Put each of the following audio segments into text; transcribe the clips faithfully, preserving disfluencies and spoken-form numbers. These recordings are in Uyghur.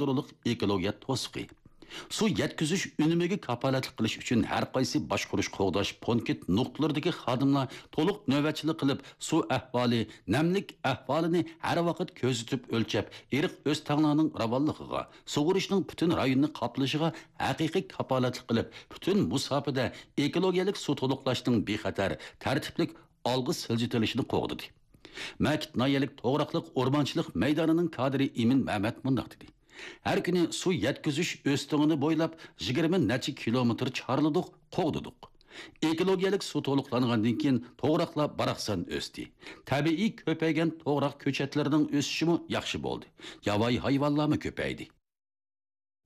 يادرولۇق ئېكولوگىيە توسۇقى. سۇ يەتكۈزۈش ئۈنۈمىگە كاپالەتلىك قىلىش ئۈچۈن ھەر قايسى باشقۇرۇش قوغداش پونكىت نۇقتىلىرىدىكى خادىملار تولۇق نۆۋەتچىلىك قىلىپ، سۇ ئەھۋالى، نەملىك ئەھۋالىنى ھەر ۋاقىت كۆزىتىپ ئۆلچەپ، ئېرىق ئۆستەڭلارنىڭ راۋانلىقىغا، سۇغىرىشنىڭ پۈتۈن رايوننى قاپلىشىغا ھەقىقىي كاپالەتلىك قىلىپ، پۈتۈن مۇساپىدە ئېكولوگىيەلىك سۇ تولۇقلاشنىڭ بىخەتەر، تەرتىپلىك ئالغا سىلجىتىلىشىنى قوغدىدى. مەكىت ناھىيەلىك توغراقلىق ئورمانچىلىق مەيدانىنىڭ كادىرى ئىمىن مەمەت مۇنداق دېدى: ھەر كۈنى سۇ يەتكۈزۈش ئۆستىڭىنى بويلاپ يىگىرمە نەچچە كىلومېتىر چارلىدۇق، قوغدىدۇق. ئېكولوگىيەلىك سۇ تولۇقلانغاندىن كېيىن توغراقلار باراقسان ئۆستى. تەبىئىي كۆپەيگەن توغراق كۆچەتلىرىنىڭ ئۆسۈشىمۇ ياخشى بولدى. ياۋايى ھايۋانلارمۇ كۆپەيدى.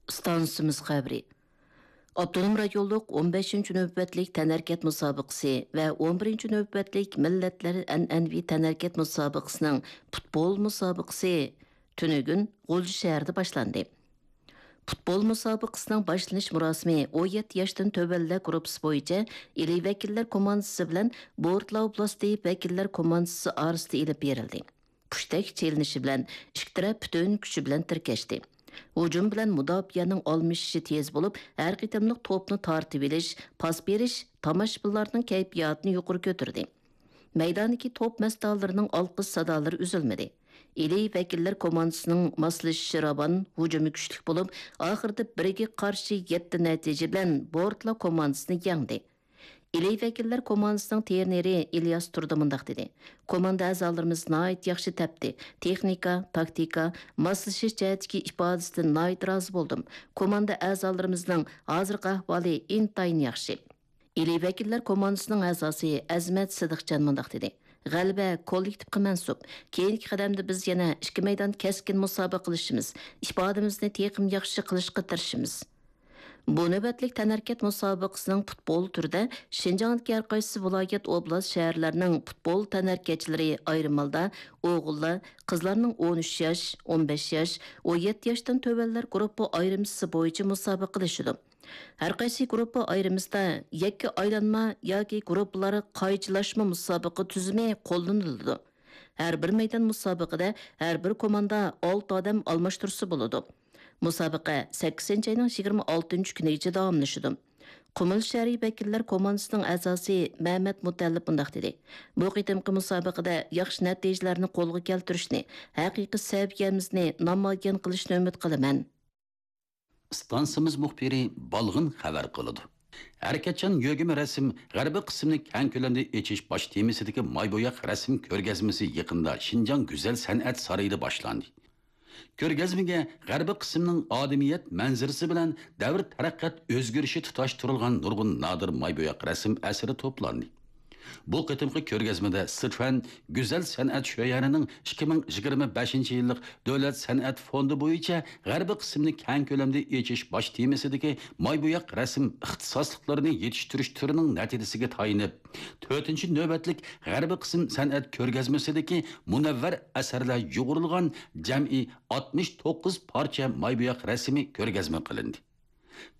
ئىستانسىمىز خەۋىرى. ئاپتونوم رايونلۇق ئون بەشىنچى نۆۋەتلىك تەنھەرىكەت مۇسابىقىسى ۋە ئون بىرىنچى نۆۋەتلىك مىللەتلەر ئەنئەنىۋى تەنھەرىكەت مۇسابىقىسىنىڭ پۇتبول مۇسابىقىسى تۈنۈگۈن غۇلجا شەھىرىدە باشلاندى. پۇتبول مۇسابىقىسىنىڭ باشلىنىش مۇراسىمى ئون يەتتە ياشتىن تۆۋەنلەر گۇرۇپپىسى بويىچە ئىلى ۋەكىللەر كوماندىسى بىلەن بورتلا ئوبلاستى ۋەكىللەر كوماندىسى ئارىسىدا ئېلىپ بېرىلدى. پۇشتەك چېلىنىشى بىلەن ئىككى تەرەپ پۈتۈن كۈچى بىلەن تىركەشتى. ھۇجۇم بىلەن مۇداپىئەنىڭ ئالمىشىشى تېز بولۇپ، ھەر قېتىملىق توپنى تارتىۋېلىش، پاس بېرىش تاماشىبىنلارنىڭ كەيپىياتىنى يۇقىرى كۆتۈردى. مەيداندىكى توپ مەستانىلىرىنىڭ ئالقىش سادالىرى ئۈزۈلمىدى. ئىلى ۋەكىللەر كوماندىسىنىڭ ماسلىشىشى راۋان، ھۇجۇمى كۈچلۈك بولۇپ، ئاخىرىدا بىرگە قارشى يەتتە نەتىجە بىلەن بورتلا كوماندىسىنى يەڭدى. ئىلى ۋەكىللەر كوماندىسىنىڭ ترېنېرى ئىلياس تۇردى مۇنداق دېدى: كوماندا ئەزالىرىمىز ناھايىتى ياخشى تەپتى. تېخنىكا، تاكتىكا، ماسلىشىش جەھەتتىكى ئىپادىسىدىن ناھايىتى رازى بولدۇم. كوماندا ئەزالىرىمىزنىڭ ھازىرقى ئەھۋالى ئىنتايىن ياخشى. ئىلى ۋەكىللەر كوماندىسىنىڭ ئەزاسى ئەزىمەت سىدىقجان مۇنداق دېدى: غەلىبە كوللېكتىپقا مەنسۇپ. كېيىنكى قەدەمدە بىز يەنە ئىككى مەيدان كەسكىن مۇسابىقە قىلىشىمىز، ئىپادىمىزنى تېخىمۇ ياخشى قىلىشقا تىرىشىمىز. بۇ نۆۋەتلىك تەنھەرىكەت مۇسابىقىسىنىڭ پۇتبول تۈرىدە شىنجاڭدىكى ھەر قايسى ۋىلايەت، ئوبلاست، شەھەرلەرنىڭ پۇتبول تەنھەرىكەتچىلىرى ئايرىم ھالدا ئوغۇللار، قىزلارنىڭ ئون ئۈچ ياش، ئون بەش ياش، ئون يەتتە ياشتىن تۆۋەنلەر گۇرۇپپا ئايرىمىسى بويىچە مۇسابىقىلىشىدۇ. ھەر قايسى گۇرۇپپا ئايرىمىسىدا يەككە ئايلانما ياكى گۇرۇپپىلار قايچىلاشما مۇسابىقە تۈزۈمى قوللىنىلىدۇ. ھەر بىر مەيدان مۇسابىقىدە ھەر بىر كوماندا ئالتە ئادەم ئالماشتۇرسا بولىدۇ. مۇسابىقە سەككىزىنچى ئاينىڭ يىگىرمە ئالتىنچى كۈنىگىچە داۋاملىشىدۇ. قۇمۇل شەھىرى ۋەكىللەر كوماندىسىنىڭ ئەزاسى مەمەت مۇتەللىپ مۇنداق دېدى: بۇ قېتىمقى مۇسابىقىدە ياخشى نەتىجىلەرنى قولغا كەلتۈرۈشنى، ھەقىقىي سەۋىيەمىزنى نامايان قىلىشنى ئۈمىد قىلىمەن. ئىستانسىمىز مۇخبىرى بالغىن خەۋەر قىلىدۇ. ھەرىكەتچان يۆگىمە رەسىم غەربىي قىسىمنى كەڭ كۆلەمدە ئېچىش باش تېمىسىدىكى ماي بوياق رەسىم كۆرگەزمىسى يېقىندا شىنجاڭ گۈزەل سەنئەت سارىيىدا باشلاندى. كۆرگەزمىگە غەربىي قىسىمنىڭ ئادىمىيەت مەنزىرىسى بىلەن دەۋر تەرەققىيات ئۆزگىرىشى تۇتاشتۇرۇلغان نۇرغۇن نادىر ماي بوياق رەسىم ئەسىرى توپلاندى. بۇ قېتىمقى كۆرگەزمىدە سىچۈەن گۈزەل سەنئەت شۆيەنىنىڭ ئىككى مىڭ يىگىرمە بەشىنچى يىللىق دۆلەت سەنئەت فوندى بويىچە غەربىي قىسىمنى كەڭ كۆلەمدە ئېچىش باش تېمىسىدىكى ماي بوياق رەسىم ئىختىساسلىقلىرىنى يېتىشتۈرۈش تۈرىنىڭ نەتىجىسىگە تايىنىپ، تۆتىنچى نۆۋەتلىك غەربىي قىسىم سەنئەت كۆرگەزمىسىدىكى مۇنەۋۋەر ئەسەرلەر يۇغۇرۇلغان جەمئىي ئاتمىش توققۇز پارچە ماي بوياق رەسىمى كۆرگەزمە قىلىندى.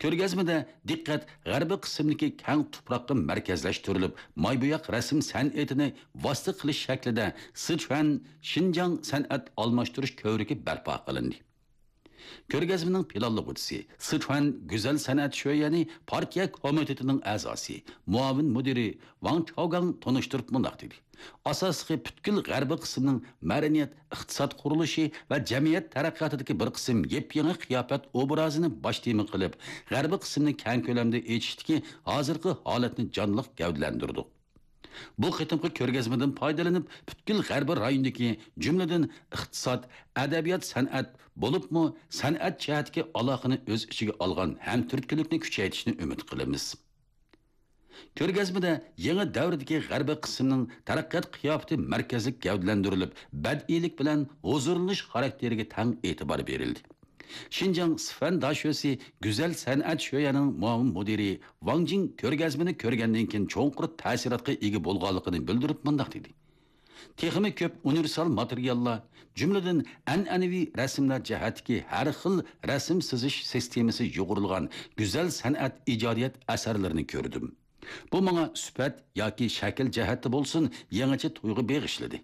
كۆرگەزمىدە دىققەت غەربىي قىسىمدىكى كەڭ تۇپراققا مەركەزلەشتۈرۈلۈپ، ماي بوياق رەسىم سەنئىتىنى ۋاسىتە قىلىش شەكلىدە سىچۈەن شىنجاڭ سەنئەت ئالماشتۇرۇش كۆۋرۈكى بەرپا قىلىندى. كۆرگەزمىنىڭ پىلانلىغۇچىسى، سىچۈەن گۈزەل سەنئەت شۆيەنى پارتىيە كومىتېتىنىڭ ئەزاسى، مۇئاۋىن مۇدىرى ۋاڭ چاۋگاڭ تونۇشتۇرۇپ مۇنداق دېدى: ئاساسلىقى پۈتكۈل غەربىي قىسىمنىڭ مەدەنىيەت، ئىقتىساد قۇرۇلۇشى ۋە جەمئىيەت تەرەققىياتىدىكى بىر قىسىم يېپيېڭى قىياپەت ئوبرازىنى باش تېما قىلىپ، غەربىي قىسىمنى كەڭ كۆلەمدە ئېچىشتىكى ھازىرقى ھالەتنى جانلىق گەۋدىلەندۈردۇق. بۇ قېتىمقى كۆرگەزمىدىن پايدىلىنىپ، پۈتكۈل غەربىي رايوندىكى، جۈملىدىن ئىقتىساد، ئەدەبىيات، سەنئەت، بولۇپمۇ سەنئەت جەھەتتىكى ئالاقىنى ئۆز ئىچىگە ئالغان ھەمتۈرتكىلىكنى كۈچەيتىشنى ئۈمىد قىلىمىز. كۆرگەزمىدە يېڭى دەۋردىكى غەربىي قىسىمنىڭ تەرەققىيات قىياپىتى مەركەزلىك گەۋدىلەندۈرۈلۈپ، بەدىئىيلىك بىلەن ھۇزۇرلىنىش خاراكتېرىگە تەڭ ئېتىبار بېرىلدى. شىنجاڭ سىفەن داشۆسى گۈزەل سەنئەت شۆيەنىڭ مۇئاۋىن مۇدىرى ۋاڭ جىڭ كۆرگەزمىنى كۆرگەندىن كېيىن چوڭقۇر تەسىراتقا ئىگە بولغانلىقىنى بىلدۈرۈپ مۇنداق دېدى: تېخىمۇ كۆپ ئۇنىۋېرسال ماتېرىياللار، جۈملىدىن ئەنئەنىۋى رەسىملەر جەھەتتىكى ھەر خىل رەسىم سىزىش سىستېمىسى يۇغۇرۇلغان گۈزەل سەنئەت ئىجادىيەت ئەسەرلىرىنى كۆردۈم. بۇ ماڭا سۈپەت ياكى شەكىل جەھەتتە بولسۇن، يېڭىچە تۇيغۇ بېغىشلىدى.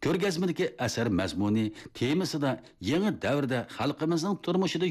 كۆرگەزمىدىكى ئەسەر مەزمۇنى، تېمىسىدا يېڭى دەۋردە خەلقىمىزنىڭ تۇرمۇشىدا